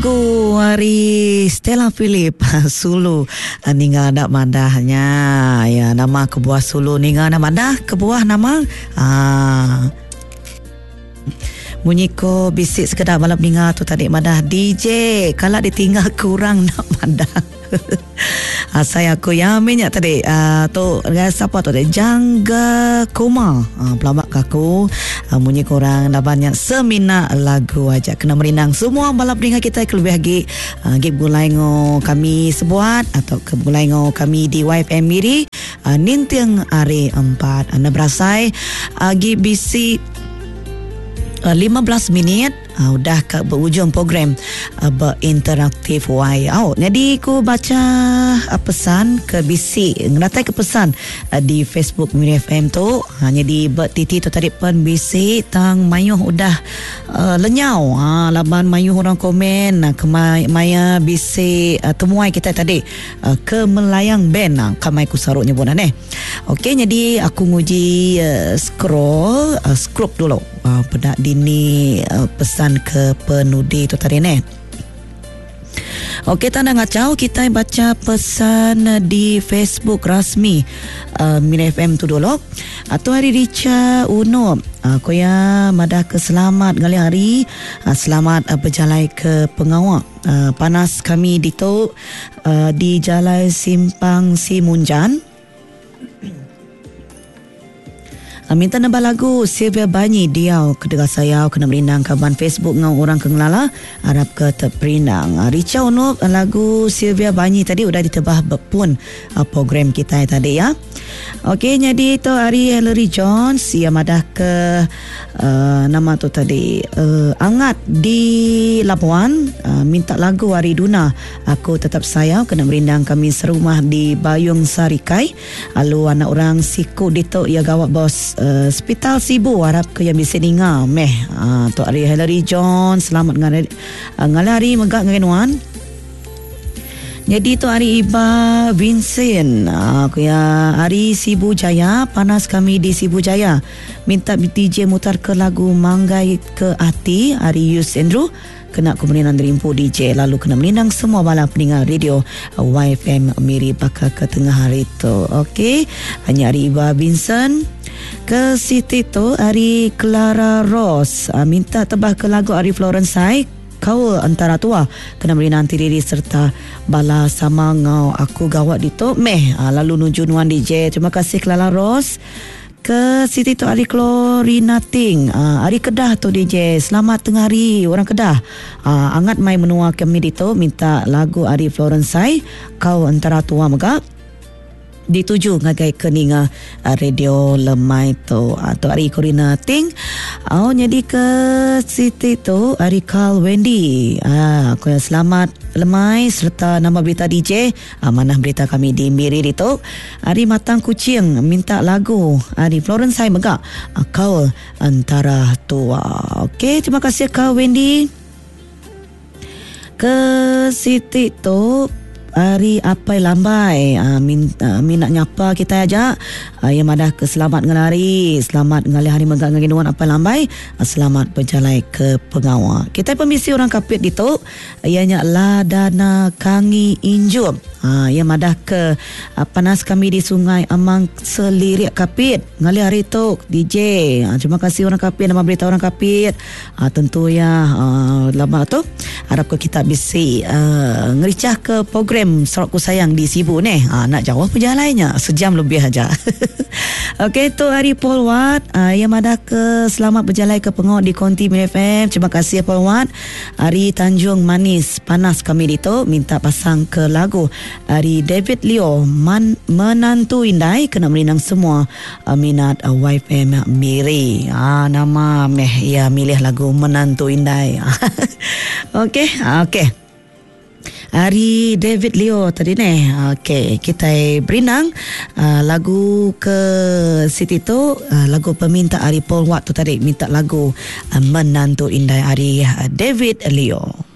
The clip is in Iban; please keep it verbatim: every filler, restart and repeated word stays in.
Ku ari Stella Philip Sulu ninga enda madah nya. Ya nama kebuah Sulu ninga enda madah kebuah nama aa munyi ko bisi sekeda bala peninga tu tadi madah D J kala ditinggal kurang enda madah. Asai aku ya meh nya tadi uh, tu dengan siapa tu tadi Jangga Kuma uh, pelabak ke aku uh, munyi korang laban nya semina lagu aja kena merindang semua bala peninga kita kelebih lagi uh, gi begulai ngo kami sebuat atau ke begulai ngo kami di Y F M Miri uh, ninting hari empat anda berasai uh, gi bisi uh, lima belas minit uh, udah ke berujung program uh, berinteraktif Y. Oh, jadi ku baca uh, pesan ke bisi ngeratai ke pesan uh, di Facebook Miri F M tu. Ha, jadi bertiti tu tadi pen bisi tang mayuh udah uh, lenyau. Ha, laban mayuh orang komen uh, kemai maya bisi uh, temuai kita tadi uh, ke Melayang Band uh, kamai ku saruk nyebut aneh. Okey, jadi aku nguji uh, scroll uh, scroll dulu. Uh, pedak dini uh, pesan ke penudi tu tadi ni. Okey, tanda ngacau kita baca pesan di Facebook rasmi uh, Miri F M tu dulu. Atau hari Richa Uno. Uh, koya madah ke selamat ngali hari, uh, selamat uh, berjalai ke pengawak. Uh, panas kami di tu uh, di Jalai Simpang Simunjan. Minta nambah lagu Sylvia Banyi Diau kedega saya kena merindang kaban Facebook ngau orang ke ngelala harap ke terperindang. Richa Unup lagu Sylvia Banyi tadi udah ditebah berpun program kita tadi ya. Okey, jadi tu hari Hillary Jones ia madah ke uh, nama tu tadi uh, Angat di Labuan uh, minta lagu hari Duna Aku Tetap Sayang kena merindang kami serumah di Bayung Sarikai. Lalu anak orang siku ditu ia gawat bos Uh, Hospital Sibu harap ke yang bisa ninga meh. Uh, tu hari Hillary Jones selamat ngalih uh, ngalih hari megak dengan nuan. Jadi tu hari Iba Vincent. Aku ya hari Sibu Jaya panas kami di Sibu Jaya. Minta D J mutar ke lagu Manggai ke Hati hari Yus Andrew. Kena kemudian derimpu D J lalu kena melindang semua bala pendengar radio Y F M Miri bakal ke tengah hari tu. Okey, hanya hari Iba Vincent. Ke Siti tu hari Clara Rose minta tebah ke lagu hari Florence Sai Kau Antara Tua kena beri nanti diri serta bala sama ngau aku gawat di tu meh lalu nuju nuan D J. Terima kasih Clara Rose. Ke Siti tu hari Klorina Ting hari Kedah tu D J. Selamat tengah hari orang Kedah. Angat mai menua kami di tu minta lagu hari Florence Sai Kau Antara Tua megak dituju ngagai keninga radio lemai tu atau hari Corina Ting. Oh jadi ke Siti tu hari Carl Wendy. Ah aku yang selamat lemai serta nama berita D J. Ah, mana berita kami di Miri itu. Hari Matang Kucing minta lagu hari Florence Sai megak Kau Antara Tua. Okey, terima kasih Carl Wendy. Ke Siti tu hari Apai Lambai uh, min, uh, minat nyapa kita aja uh, yang madah ke selamat ngelari selamat ngalih hari megak ngagi nuan Apai Lambai uh, selamat berjalai ke pengawal kita pemisi orang Kapit ditu ianya Ladana Kangi Injum uh, yang madah ke uh, panas kami di Sungai Amang Selirik Kapit ngalih hari tu D J. Uh, terima kasih orang Kapit nama berita orang Kapit uh, tentu ya uh, lama tu harap ke kita bisi uh, ngericah ke program Sarawakku Sayang di Sibu ni. Ha, nak jauh perjalanannya sejam lebih aja. Okey, tu hari Paul Watt uh, yang madah ke selamat berjalan ke pengok di Konti Miri F M. Terima kasih Paul Watt. Hari Tanjung Manis panas kami ditu minta pasang ke lagu hari David Leo Man, Menantu Indai kena merindang semua uh, minat uh, Y F M Miri. Ha, nama meh ya milih lagu Menantu Indai. Okey, okey. Hari David Leo tadi ni. Okey, kita berinang uh, lagu ke Siti tu uh, lagu peminta Ari Paul Watt tu tadi minta lagu uh, Menantu Indai Ari uh, David Leo.